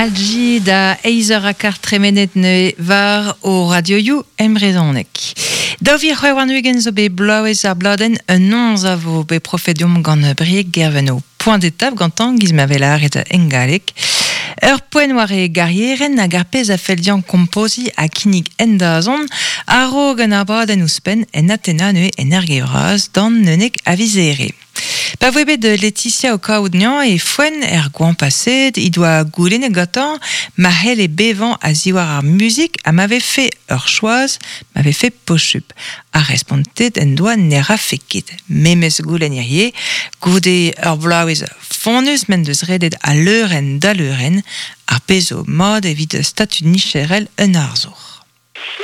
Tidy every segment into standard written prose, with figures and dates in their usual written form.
Algi da eizh eur ha kart tremenet neuze war o radioioù en brezhoneg. 2026 zo bet bloavezh ar bladenn un noz a vo bet profet deomp gant Brieg Gerveno. Point d'étape gantañ giz ma vez lâret en galleg. Ur poent war e garierenn hag ar pezh a fell dezhañ kompoziñ ha kinnig en dazont a-raok un abadenn ouzhpenn en Atena neuze en Erge-Vras d'an 11 a viz Here. Pa voe bet Laetitia o kaout anezhañ e foenn er goañv paseet he doa goulennet gantañ ma c'helle bevañ a-ziwar ar muzik ha ma vefe ur choaz ma vefe posupl. Ha respontet en doa ne rafe ket. Memes goulenn hiziv, goude ur bloavezh fonnus m'en deus redet a leurenn da leurenn, ar pezh zo mat evit statud micherel un arzour.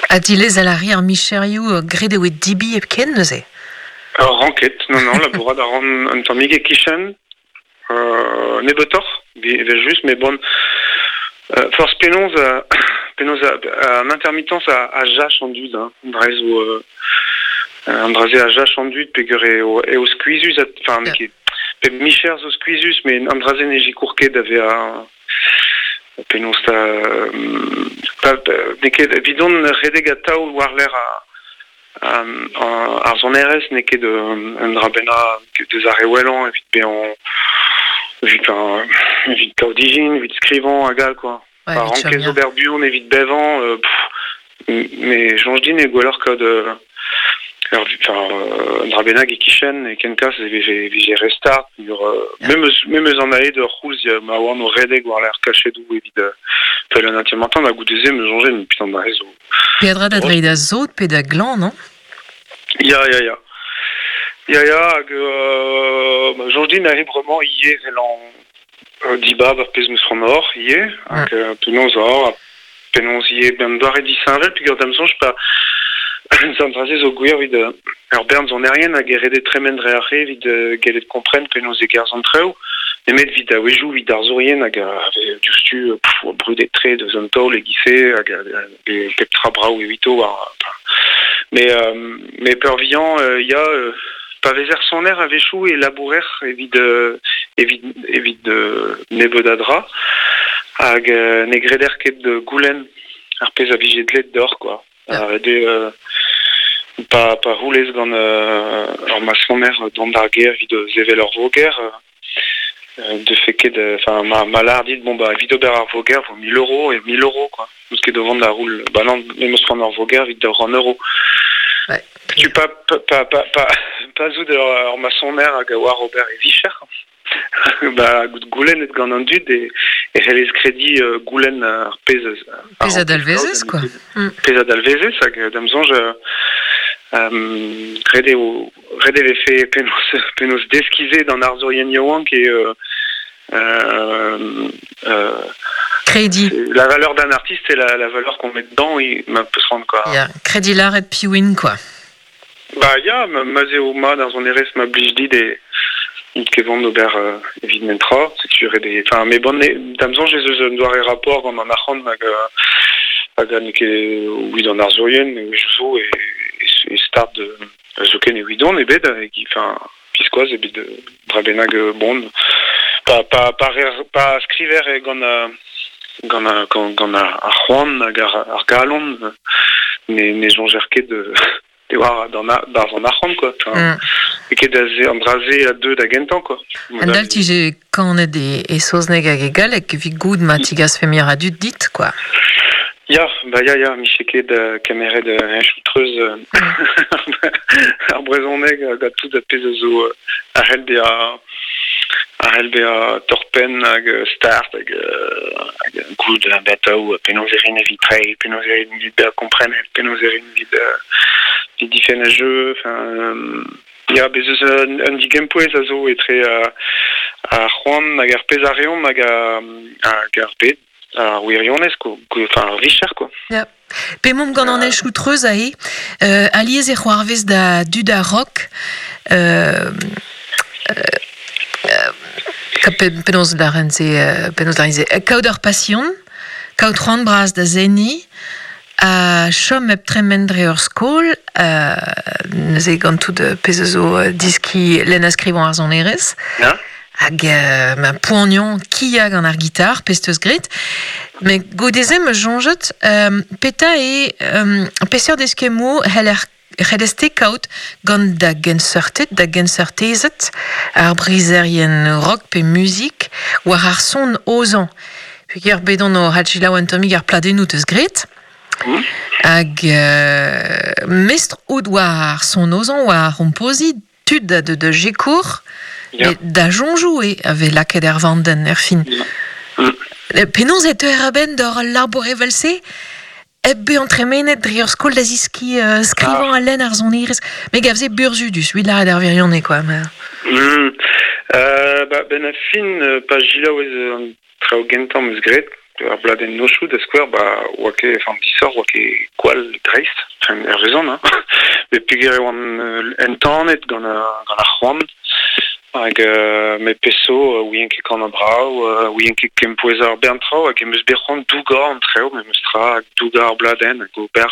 Ha dilezel a ri ar micherioù graet eo dibi hepken neuze? Ur ranket, non, non, labourat a ran un tammig e-kichen, nebeutoc'h, evel-just, met bon, forzh penaos, penaos an intermittence a jach an dud, hein, an dra zo, an dra-se a jach an dud peogwir eo, eo skuizhus, enfin, n'eo ket, pep micher zo skuizhus, met an dra-se ne sikour ket da vezañ Penaos 'ta n'eo ket evidon redek atav war-lerc'h ar sonerezh n'eo ket un dra bennak deus ar re wellañ evit bezañ evit evit kaout ijin, evit skrivañ hag all quoi. Pa rankez ober buan evit bevañ, me soñj din eo gwelloc'h kaout ur un dra bennak e-kichen e kenkas e vije e vije re start memes memes an aet ur c'houlz ma oan o redek war-lerc'h kachedoù evit fel un entier-matin ha goude-se me soñje mais putain da zo Peadra da dreiñ da sot pe da glañv, non? Ya ya ya ya ya hag ma soñj din aze bremañ ivez evel an dibab ar pezh 'meus c'hoant ober ivez hag penaos ober Penaos ivez un doare disheñvel peogwir da'm soñj pa an dra-se zo gwir evit ur bern sonerien hag e rede tremen dre ar re evit gellet kompren penaos e gerzh an traoù nemet evit a-wezhioù evit arzourien hag a vez diouzhtu brudet-tre deus an taol e-giz-se hag pep tra brav evito war mais mais peurvuiañ ya pa vezer soner a-wechoù e labourer evit evit evit nebeut a dra hag ne greder ket goulenn ar pezh a vije dleet deoc'h quoi. Ret eo pa pa roulez gant ur masoner dont d'ar gêr evit sevel ur voger 'defe ket enfin ma ma lâr dit bon bah evit ober ar voger 'vo 1000 euros et 1000 euros quoi. N'eus ket o vont da roul bah non me 'meus c'hoant ur voger evit 200 euros. Ouais. Tu pa pa pa pa pa zout ur masoner hag a oar ober e vicher Ba goulennet gant an dud e e c'hellez krediñ goulenn ar pezh a Pezh a dalvezez quoi. Pezh a dalvezez hag da'm soñj ret eo ret e vefe penaos penaos deskiñ se d'an arzourien yaouank e Krediñ. La valeur d'un artiste c'est la, la valeur qu'on met dedans et ma peus c'hoant quoi. Ya, krediñ lâret piv int quoi. Ba ya, ma 'z eo mat ar sonerezh ma blij dit e int ket vont d'ober evit netra. Setu ret eo. Enfin, mais bon, da'm soñj ez eus un doare rapport gant an arc'hant hag hag n'eo ket evit an arzourien zo e, e start zoken evidon ebet enfin biskoazh ebet dra bennak bon pa pa pa, pa skriver gant gant gant ar c'hoant hag ar galon ne ne soñjer ket diwar barzh an arc'hant quoi. Enfin, mm. ket an dra-se a deu da gentañ quoi. An dal tije kanet e, e saozneg hag e galleg evit goût ma tigasfe mir a dud dit quoi. Ya, ba ya, ya, miche ket kemeret un choutreuz ar brezhoneg hag tout ar pezh a zo a c'hell bezañ a c'hell bezañ torr-penn hag start hag hag goût atav penaos e rin evit treiñ, penaos e rin evit bezañ komprenet, penaos e rin evit evit difenn ar jeu, enfin ya, bez eus un digempouez a zo etre ar c'hoant hag ar pezh a reomp hag hag ar bed. Ar wirionez, quoi, enfin ar vicher, quoi. Ya. P'emaomp gant an henchoù treuz aze, alies e c'hoarvez da dud ar rock penaos lâren se, penaos lâren se, kaout ur pasion, kaout c'hoant bras da seniñ, ha chom hep tremen dre ur skol, neuze gant tout pezh a zo diskiñ lenn ha skrivañ ar sonerezh. Ya. Hag ma poanion kia gant ar gitar, pesteus gret. Me godeze me jonjet, peta e peseurt eskemmo heller c'hellez-te kaout gant da genseurted, da genseurtezed, ar brizerien rock pe muzik, war ar son ozañ. Peogwir bet on o hadjilaou un tammig ar pladennoù teus graet. Hag mestr out war ar son ozañ, war ar c'hompoziñ, tud da de, da jekour, yeah. da soñjoù eo a vez lakaet er vandenn er fin. Penaos e teuer a-benn d'ur labour evel-se hep bezañ tremenet dre ur skol da zeskiñ skrivañ ha lenn ar sonerezh? Me gav se burzhudus, evit lâret ar wirionez quoi. Mais... Ba, ben a fin, pa jilaouez an traoù gentañ 'm eus graet, ar bladenn Nochoù da skouer, ba oa ket, enfin disoc'h oa ket gwall dreist, enfin hervezon, hein. Met peogwir e oan entanet gant gant ar c'hoant hag me peso ouien ket kanañ brav, ouien ket kempouezañ ar bern traoù hag em eus bet c'hoant dougañ an traoù memes tra, hag dougañ ar bladenn hag ober...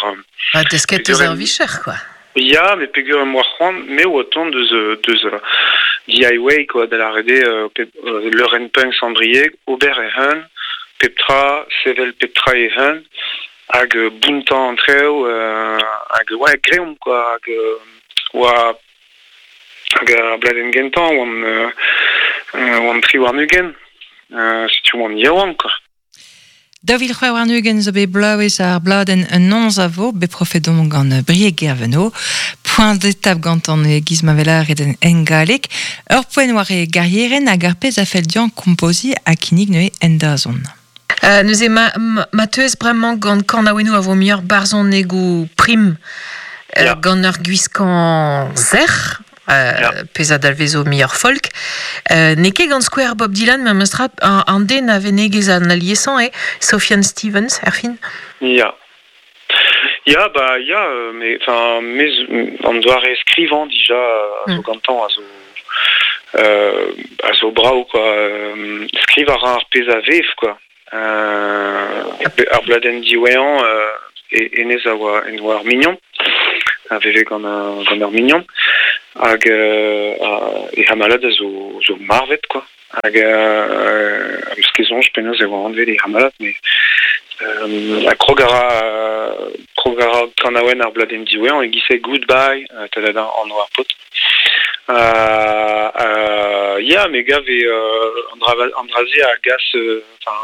Ha desket eus ar vicher, quoi. Ya, met peogwir em boa c'hoant, me oa tont deus deus DIY quoi, da lâret eo leurenn punk Sant-Brieg, ober e-hun, pep tra, sevel pep tra e-hun, hag bountañ an traoù, hag ouais, greomp quoi, hag oa hag ar bladenn gentañ oan oan 23, setu oan yaouank quoi. 2026 zo bet bloavezh ar bladenn Un noz a vo, bet profet omp gant Brieg Guerveno. Point d'étape gantan e-giz ma vez lâret en galleg. Ur poent war e garierenn hag ar pezh a fell dezhañ kompoziñ ha kinnig neuze en dazont. Neuze ma, ma teuez bremañ gant kanaouennoù a vo muioc'h barzhonegoù prim gant ur gwiskañ sec'h, pezh a dalvezo muioc'h folk. N'eo ket gant skouer Bob Dylan, memes tra, an den a venegez an aliesañ eo Sufjan Stevens, erfin. Ya. Ya, ba ya, mais enfin, me an doare skrivañ dija a zo gantañ a zo a zo brav quoi. Skrivañ a ra ar pezh a vev quoi. Ar bladenn diwezhañ hennezh a oa en oa ur mignon a veve gant gant ur mignon hag e c'hamalad a zo zo marvet quoi hag am eus ket soñj penaos e oa anvet e c'hamalad met ha krog a ra krog a ra kanaouenn ar bladenn diwezhañ e-giz-se Goodbye ta-da-da anv ar paotr. Ya, me gav eo an dra an dra-se a gas enfin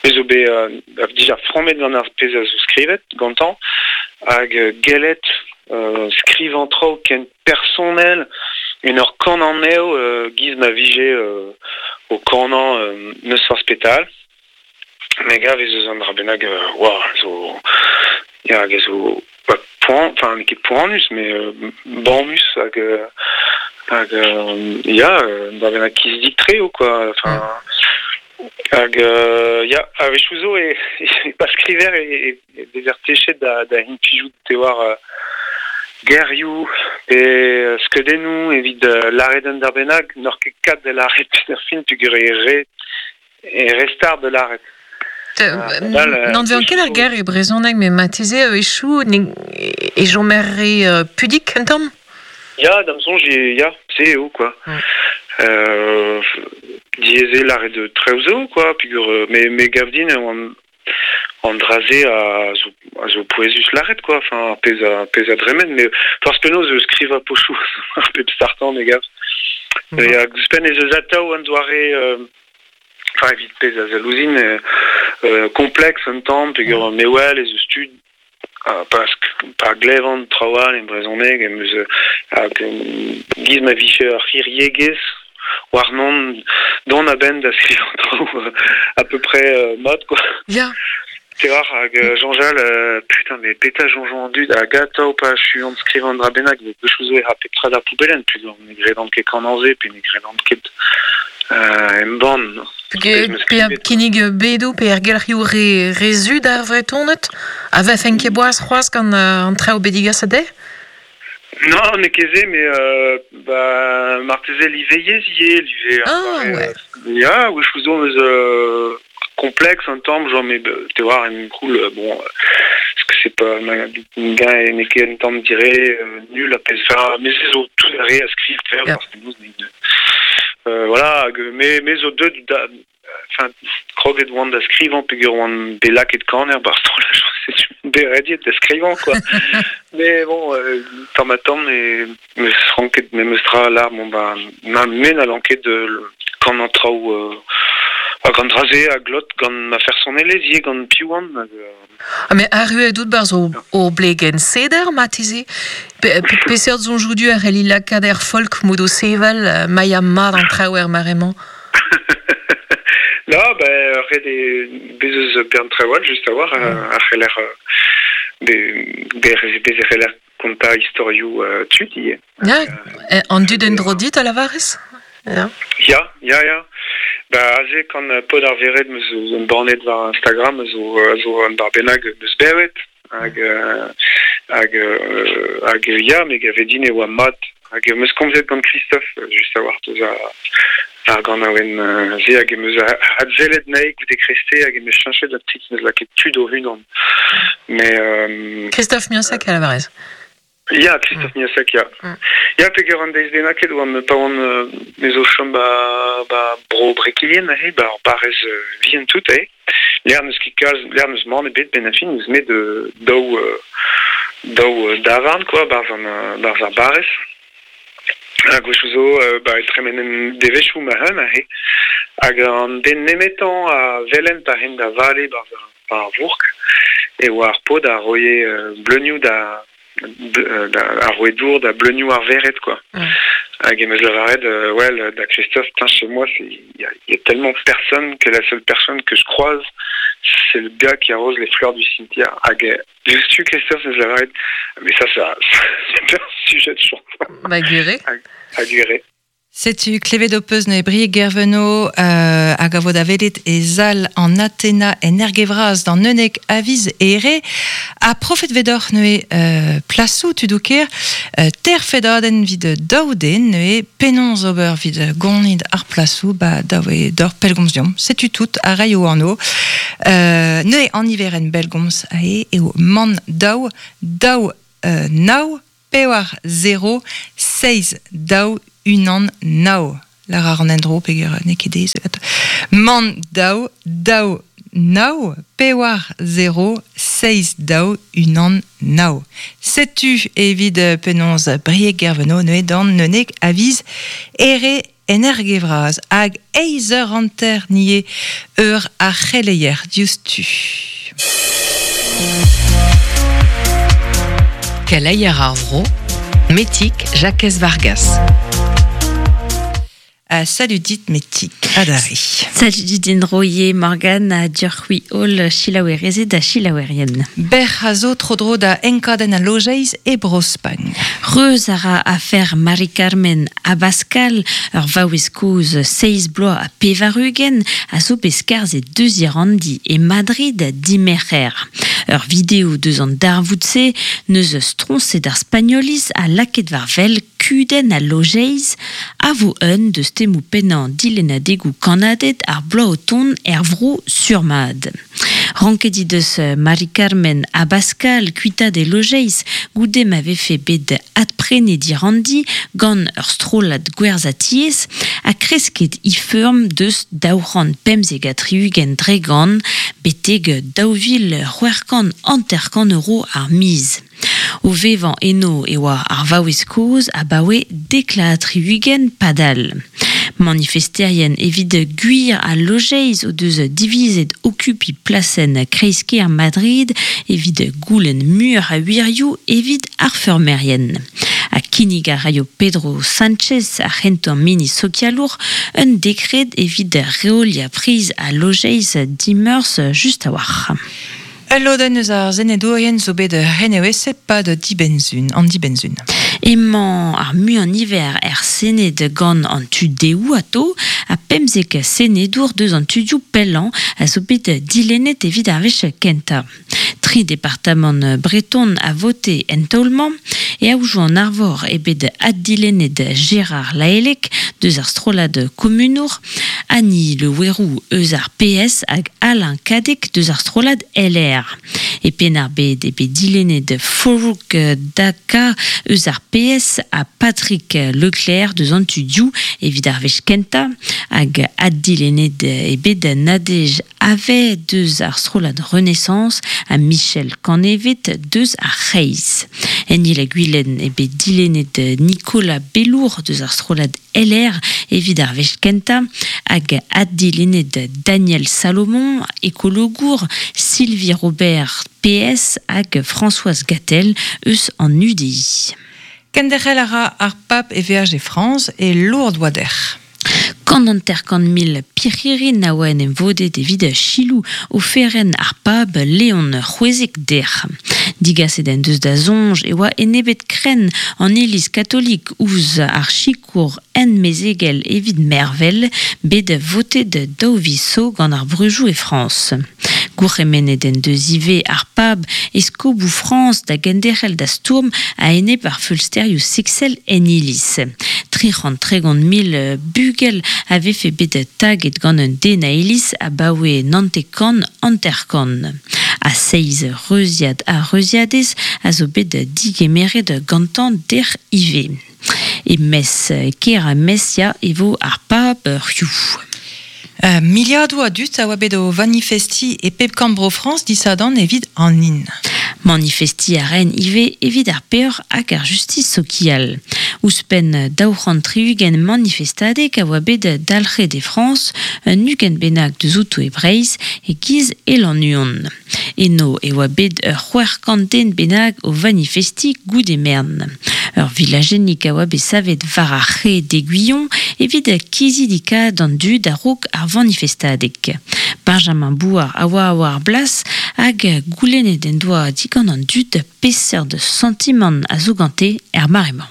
me zo bet dija frammet gant ar pezh a zo skrivet gantañ hag gellet skrivañ traoù ken personel en ur kanañ anezho giz ma vije o kanañ n'eus forzh petal. Me gav ez eus un dra bennak oa zo ya hag a zo ba poan enfin n'eo ket poanus met bamus hag hag ya un dra bennak kizidik-tre eo quoi enfin hag ya a-wechoù zo e pa skriver e vezer techet da da implijout te oar gerioù pe skeudennoù evit lâret un dra bennak n'oc'h ket kat da lâret er fin peogwir eo ret E restard da lâret. N'anvean ket ar ger e brezhoneg, met marteze a-wechoù e chomer re pudik un tamm? Ya, da'm soñj, ya, se eo, quoi. Diaes eo lâret traoù zo, quoi, peogwir me, me gav din e oan an dra-se a zo, a zo pouezus lâret, quoi, enfin, ar pezh a, pezh a dremen, met forzh penaos eus skrivañ pochoù ar pep startañ, me gav. Hag ouzhpenn ez eus atav un doare enfin evit pezh a sell ouzhin kompleks un tamm peogwir me wel ez eus tud pa pa glevan traoù all en brezhoneg em eus hag giz ma vije ur c'hiriegezh warnon dont a-benn da skrivañ traoù à peu près mat quoi. Ya. Te war hag soñjal putain mais petra soñjo an dud hag atav pa achuan skrivañ un dra bennak gwechou zo e ra pep tra d'ar poubellenn peogwir ne gredan ket kanañ se pe ne gredan ket embann. Pe kinnig bedoù pe ergelc'hioù re, re zu d'ar Vretoned a vefen ket boaz c'hoazh gant an traoù bet digaset dezhe? Non, n'eo ket se, mais bah, marteze liveiezh ivez, live Ah, ouais. Ya, wechoù zo eus complexe un tamm, genre mais te war en cool, bon, parce que c'est pas gain n'eo ket un tamm dire nul a pezh, enfin, mais se zo tout a re a skriv faire, parce que nous, Voilà, hag me zo deut da, enfin, kroget oan da skrivañ peogwir oan bet lakaet kaner ba'r strollaj, setu bet rediet da skrivañ, quoi. Mais bon, tamm ha tamm e meus ranket memes tra lar, bon ba, ma me n'hallan ket kanañ traoù hag an dra-se a glot gant ma fersonelezh ivez, gant piv oan. Hag, Ah, mais arruet out barzh o blegenn seder, marteze. Peseurt soñjoù du a c'helli lakaat er folk mod o sevel, ma ya mat an traoù er mare-mañ? Na, ben, ret eo bez eus bern traoù all, just a-walc'h, a c'heller bez e c'heller kontañ istorioù tud ivez. Ya, an dud en-dro dit a lavarez? Ya. Ya, ya, ya. Ba aze kan paotr ar vered 'meus embannet war Instagram a zo un dra bennak 'meus bevet hag hag hag ya, me gave din e oa mat hag 'meus komzet gant Christophe just a-walc'h deus ar ganaouenn se hag em eus adsellet anezhi goude kreiste hag em eus cheñchet un petit 'meus lakaet tud o-unan. Mais Christophe Miossec a lavarez. Ya, Christophe Miossec, ya. Ya, peogwir an deiz bennaket oan pa oan me zo chom ba, ba bro Brekilien aze, ba ur barrez vihan tout aze. Lec'h n'eus ket kalz, lec'h n'eus mann ebet benn ar fin, n'eus met daou daou davarn quoi, barzh an barzh ar barrez. Ha gwechoù zo ba e tremenen devezhioù ma-un aze. Hag an den nemetañ a welen pa rin da vale barzh ar vourk e oa ar paotr a roie bleunioù da da ar roe dour da bleunioù ar vered quoi. Hag em eus lavaret well da Christophe, putain, chez moi il y, y a tellement personne que la seule personne que je croise c'est le gars qui arrose les fleurs du cimetière. Hag diouzhtu Christophe eus lavaret mais ça ça c'est un sujet de chanson. Ba gwir Ha gwir. Setu klevet ho peus neuze Brieg Guerveno hag a vo da welet e sal an Athena en Erge-Vras d'an unnek a viz Here. Ha profet vedoc'h neuze plasoù tudoù kêr ter fedadenn 'vit daou den neuze penaos ober 'vit gonid ar plasoù ba dav eo deoc'h pellgomz deomp. Setu tout a raio anv. Neuze an niverenn bellgomz aze eo mann daou daou nav pevar zero seizh daou unan nav. Lar a ran en-dro peogwir n'eo ket aes. Mann daou daou nav pevar zero seizh daou unan nav. Setu evit penaos Brieg Guerveno neuze d'an unnek a viz Here en Erge-Vras hag eizh eur hanter nie eur ar c'heleier diouzhtu. Keleier ar vro, Metig Jakez Vargas. Ah, salut dit Metig, adarre. Salut dit en-dro ivez Morgane ha deoc'h-c'hwi holl selaouerezed ha selaouerien. Bec'h a zo tro-dro da enkadenn al lojeiz e Bro-Spagn. Reuz a ra afer Mari-Carmen Abascal, ur vaouez kozh seizh bloaz ha pevar-ugent, a zo bet skarzhet deus Irandi e Madrid dimerc'her. Ur video deus an darvoud-se 'neus stroñset ar Spagnoliz ha lakaet war wel kudenn al lojeiz a vo un deus temoù pennañ dilennadegoù kannaded ar bloaz o tont er vro sur-mat. Ranket he deus Mari-Carmen Abascal kuitaat e lojeiz goude ma vefe bet adprenet he ranndi gant ur strollad gwerzhatiez ha kresket he feurm deus 275 dre gant betek 2650 euro ar miz. O vevañ eno e oa ar vaouez kozh abaoe 70 padal. Manifesterien evit gwir al lojeiz o deus divizet okupiñ plasenn kreiz-kêr Madrid evit goulenn muioc'h a wirioù evit ar feurmerien. Ha kinnig a raio Pedro Sánchez, ar c'hentañ ministr sokialour, un dekred evit reoliañ priz al lojeiz dimeurzh just a-walc'h. Ul lodenn eus ar senedourien zo bet reneveset 'pad dibenn-sun, an dibenn-sun. Emañ ar muiañ-niver er Sened gant an tu dehoù atao ha 15 senedour deus an tudioù pellañ a zo bet dilennet evit ar wech kentañ. Tri departamant breton a vote en taol-mañ. E aojoù an arvor eo bet addilennet Gérard Lahellec deus ar strollad komunour, Annie Le Houerou eus ar PS hag Alain Cadec deus ar strollad LR. E Penn-ar-Bed eo bet dilennet Farouk Daka eus ar PS ha Patrick Leclerc deus an tu dioù evit ar wech kentañ hag addilennet eo bet Nadège Havet deus ar strollad Renaissance ha Michel Canevet deus ar C'hreiz. En Il-ha-Gwilen eo bet dilennet Nicolas Bellour deus ar strollad LR evit ar wech kentañ hag addilennet Daniel Salomon, ekologour, Sylvie Robert, PS hag Françoise Gatel eus an UDI. Kenderc'hel a ra ar pab e veaj e Frañs e Lourdes oa dec'h. 150 000 pirc'hirin a oa en em vodet evit selaou oferenn ar pab Leon XVI dec'h. Digaset en deus da soñj e oa enebet krenn an Iliz katolik ouzh ar sikour ent-mezegel evit mervel, bet votet daou viz zo gant ar breujoù e Frañs. Gourc'hemennet en deus ivez ar pab eskoboù Frañs da genderc'hel da stourm a-enep ar feulsterioù seksel en Iliz. 330 000 bugel a vefe bet taget gant un den a Iliz abaoe 99. Ha seizh reuziad ha reuziadez a zo bet digemeret gantañ dec'h ivez. E Metz, kêr Metz ya, e vo ar pab hiziv. Miliadoù a dud a oa bet o vanifestiñ e pep korn bro Frañs disadorn evit an hin. Manifestiñ a raent ivez evit ar peoc'h hag ar justis sokial. Ouzhpenn 260 manifestadeg a oa bet dalc'het e Frañs, un 20 bennak deus outo e Breizh, e-giz e Lannuon. Eno e oa bet ur 600 den bennak o vanifestiñ goude merenn. Ur vilajennig a oa bet savet war ar c'hae d'Aiguillon evit kizidikaat an dud a-raok ar vanifestadeg. Benjamin Bouard a oa war ar blas hag goulennet en doa digant an dud peseurt santimant a zo gante er mare-mañ.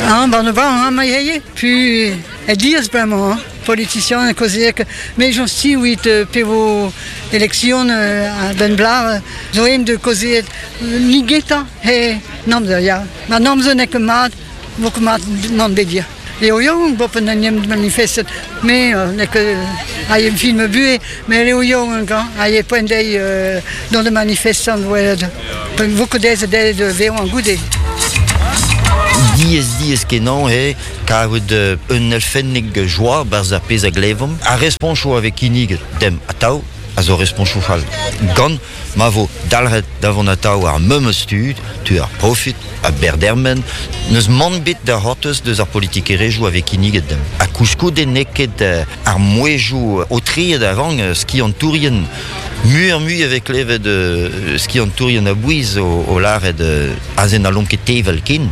Ah, ben, ben, ma eo, puis e diaz bremañ, hein, politicien kaozeek, me soñj evit pe vo election a-benn bloaz, zo aem de kaozeet ni getañ he namzer, ya. Ma namzer n'eo ket mat, vo ket mat nann bet ya. Eo yaouank bopen en em manifestet, me n'eo ket a em film buhez, mais eo yaouank, hein, a e poent dezhi dont de manifestant welet, vo ket aes dezhe de vevañ goude. Diaes diaes kenañ eo kaout un elfennig joa 'barzh ar pezh a glevomp. Ar responchoù a vez kinniget demp atav a zo responchoù fall. Gant ma vo dalc'het da vont atav ar memes tud, tu ar profit, a berdermen, n'eus mann bet da c'hortoz deus ar politikerezhioù a vez kinniget demp. Ha koulskoude n'eo ket ar mouezhioù aotreet a rank skiantourien muioc'h-mui a vez klevet skiantourien a-bouez o lâret aze n'hallomp ket tevel ken.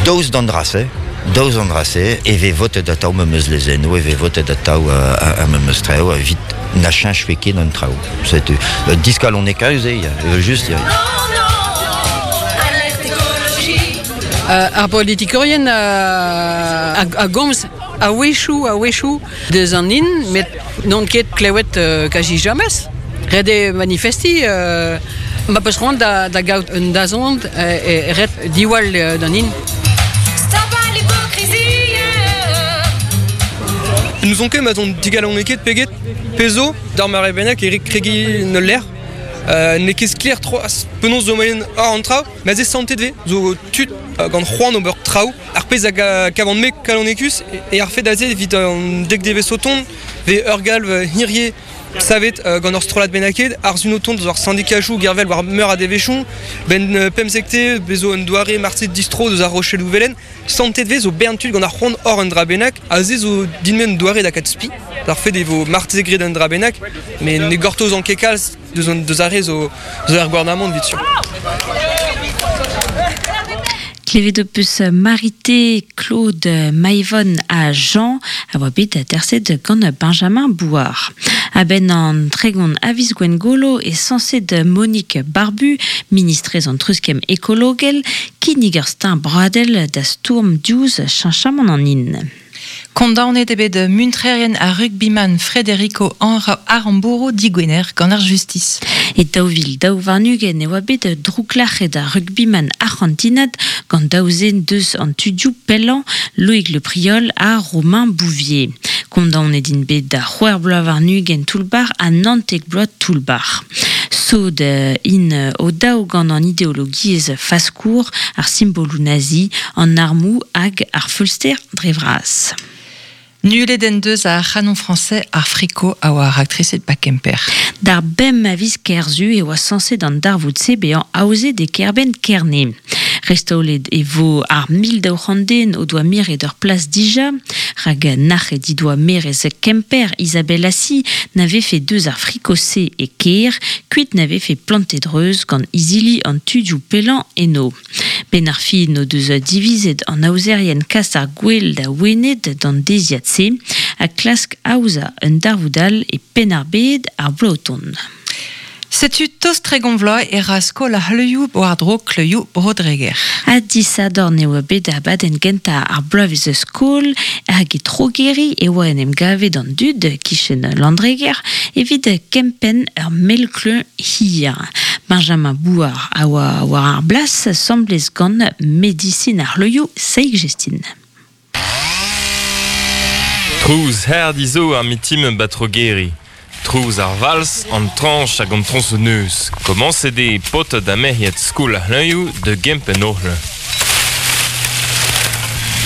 Daoust d'an dra-se, daoust d'an dra-se, e vez votet atav memes lezennoù, e vez votet atav ar memes traoù evit na cheñchfe ket an traoù. Setu diskalonekaus eo, evel-just. Ya. Ar politikourien a gomz a-wechoù a-wechoù deus an hin, met n'on ket klevet kazi james. Ret eo manifestiñ ma peus c'hoant da, da gaout un dazont e ret diwall d'an hin. N'ouzon ket ma 'z on digalonekaet pe get. Pezh zo, d'ar mare bennak e rit kregiñ en ul lec'h. N'eo ket sklaer c'hoazh penaos zo moaien àr an traoù, met se santet 'vez zo tud gant c'hoant ober traoù. Ar pezh a gavan-me kalonekus eo ar fed aze evit an dek devezh o tont 'vez ur galv hirie savet gant ur strollad bennaket, ar sun o tont deus ar sindikajoù gervel war meur a devezhioù, 'benn pemzekte bez zo un doare marse distro deus ar Rochelloù Velen. Santet 'vez zo bern tud gant ar c'hoant hor un dra bennak, aze zo din-me un doare da kaout spi. D'ar fed e vo marteze graet un dra bennak, met ne gortozan ket kalz deus, an, deus ar re zo, zo er gouarnamant evit sur. Klevet ho peus Marité, Claude, Maivon ha Jean a oa bet aterset gant Benjamin Bouard. A-benn an 30 a viz Gwengolo e sañset Monique Barbu, ministrez an treuzkemm ekologel, kinnig ur steuñv broadel da stourm diouzh cheñchamant an hin. Kondaonet eo bet muntrerien ar rugbyman Federico Aramburu digwener gant ar justis. E 2022 e oa bet drouklac'het ar rugbyman arc'hantinat gant daou zen deus an tudioù pellañ Loïc Le Priol ha Romain Bouvier. Kondaonet int bet da c'hwec'h bloaz warn-ugent toull-bac'h ha 19 bloaz toull-bac'h. Sod int o daou gant an ideologiezh faskour, ar simboloù nazi, an armoù hag ar feulster dre vras. Nullet en deus ar C'hanon Français ar friko a oa raktreset ba Kemper. D'ar bemp a viz Kerzu e oa sañset an darvoud-se bezañ aozet e kêrbenn Kerne. Restaolet e vo ar 1200 den o doa miret ur plas dija, rak nac'het he doa maerez Kemper Isabelle Assy na vefe deus ar friko-se e kêr, kuit na vefe plantet reuz gant izili an tudioù pellañ eno. Benn ar fin o deus divizet an aozerien kas ar gouel da Wened d'an deiziad-se ha klask aozañ un darvoud all e Penn-ar-Bed ar bloaz o tont. Setu tost 30 vloaz e ra skol ar c'hleuzioù war-dro kleuzioù Bro-Dreger. Ha disadorn e oa bet abadenn gentañ ar bloavezh skol hag e Trogeri e oa en em gavet an dud 'kichen Landreger evit kempenn ur mell-kleuñ hir. Benjamin Bouard a oa war ar blas asambles gant medisin ar c'hleuzioù Saig Jestin. Trouz hardi zo ar mitim ba Trogeri. Trouz ar vals, an trañch hag an troñsonneuz. Komañset eo paotred ha merc'hed skol ar c'hleñioù da gempenn o c'hleñv.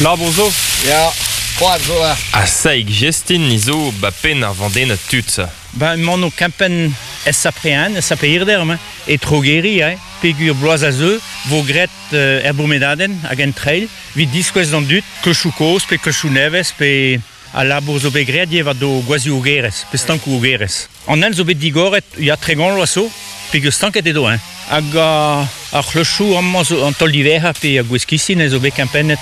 Labour zo? Ya, koad zo. Ha Saig Jestin ni zo ba penn ar vandennad tud-se. Ben emaon o kempenn SAP1, SAP Hirder emañ, e Trogeri, eh, peogwir bloaz a zeu 'vo graet er bourmenadenn hag en trail evit diskouez d'an dud klochoù kozh pe klochoù nevez pe al labour zo bet graet ivez war do gwazhioù-ogerezh pe stankoù-ogerezh. An hent zo bet digoret ya 30 vloaz zo peogwir stanket edo hein. Hag ar c'hlochoù amañ zo an taol diwezhañ pe ar gwez-kistin zo bet kempennet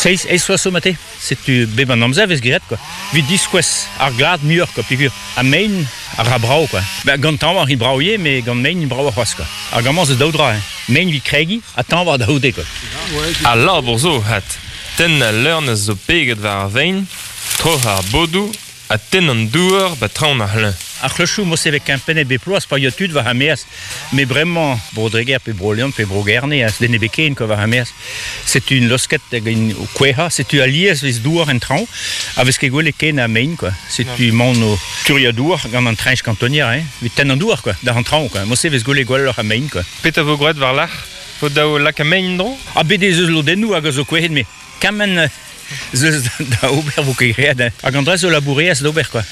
seizh eizh vloaz zo mate. Setu bep an amzer 'vez graet quoi. Evit diskouez ar glad muioc'h quoi peogwir ha mein a ra brav quoi. Ben gant tañva int brav ivez met gant mein int bravoc'h c'hoazh quoi. Hag amañ zo daou dra hein. Mein evit kregiñ ha tañva da c'houde quoi. Al labour zo 'vat. Tenn al leurnez zo peget war ar vein, troc'hañ ar bodoù ha tenn an douar 'ba traoñ ar c'hleñv. Ar c'hlochoù mo se vez kempennet bep bloaz pa ya tud war ar maez. Met bremañ Bro-Dreger pe Bro-Leon pe Bro-Gerne a den ebet ken quoi war ar maez. Setu un losket hag un o kouezhañ. Setu alies 'vez douar en traoñ ha 'vez ket gwelet ken a mein quoi. Setu 'maon o turiañ douar gant an treñch kantonier hein. 'Vit tenn an douar quoi, d'ar an traoñ quoi. Mo-se 'vez gwelet gwelloc'h a mein quoi. Petra 'vo graet war-lerc'h? 'Vo dav lakaat mein en-dro? Ha bet ez eus lodennoù hag a zo kouezhet met kement zeus da ober 'vo ket graet hein. Hag an dra zo labourerezh d'ober quoi.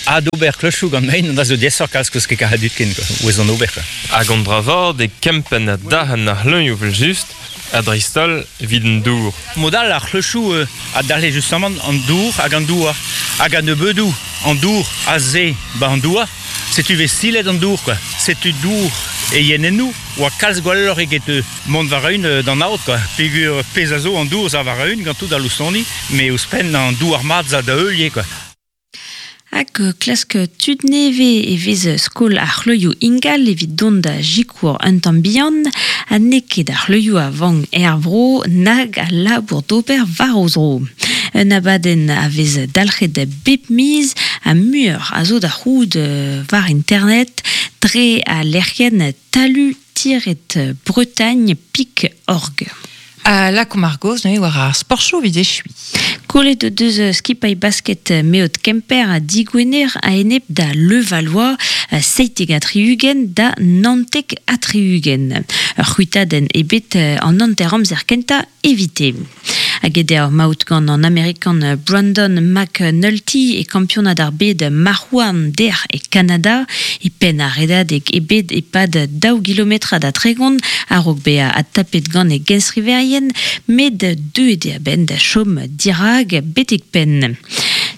Adober klochoù gant mein, an dra zo diaesoc'h kalz 'keus ket karet dud ken quoi, ouez an ober quoi. Hag an dra vat eo kempenn ha dac'henn ar c'hleñv evel-just, ha dreist-holl evit an dour. Mod all ar c'hlochoù a dalc'he justamant an dour hag an douar. Hag a-nebeudoù an dour aze 'ba an douar, setu 'vez silet an dour quoi. Setu dour e yenennoù 'oa kalz gwelloc'h eget mont war-eeun d'an aod quoi. Peogwir pezh a zo an dour 'za war-eeun gant tout al loustoni, met ouzhpenn an douar mat 'za da heul ivez quoi. Hag klask tud nevez e vez skol ar c'hleuzioù ingal evit dont da sikour un tamm bihan ha n'eo ket ar c'hleuzioù a vank er vro nag al labour d'ober war o zro. Un abadenn a vez dalc'het bep miz ha muioc'h a zo da c'hoût war internet dre al lec'hienn talu-bretagne.org. Ha lakaomp ar gaoz neuze war ar sportchoù evit echuiñ. Kollet o deus skipailh basket Meot Kemper ha Digwener a-enep da Levallois 77 da 79. Ur c'hwitadenn ebet an hanter-amzer kentañ evite. Hag eo maout gant an Amerikan Brandon McNulty e kampionad ar bed marc'h-houarn dec'h e Kanada. E penn ar redadeg eo bet e-pad daou gilometrad ha 30 a-raok bezañ adtapet gant e genstriverien, met deuet eo a-benn da chom dirak betek penn.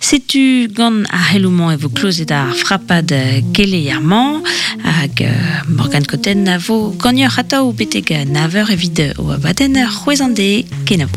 Setu gant ar c'heloù-mañ e vo klozet ar frapad keleier-mañ hag Morgane Cotten a vo ganeoc'h atav betek nav eur evit o abadenn c'hwezh an deiz. Kenavo.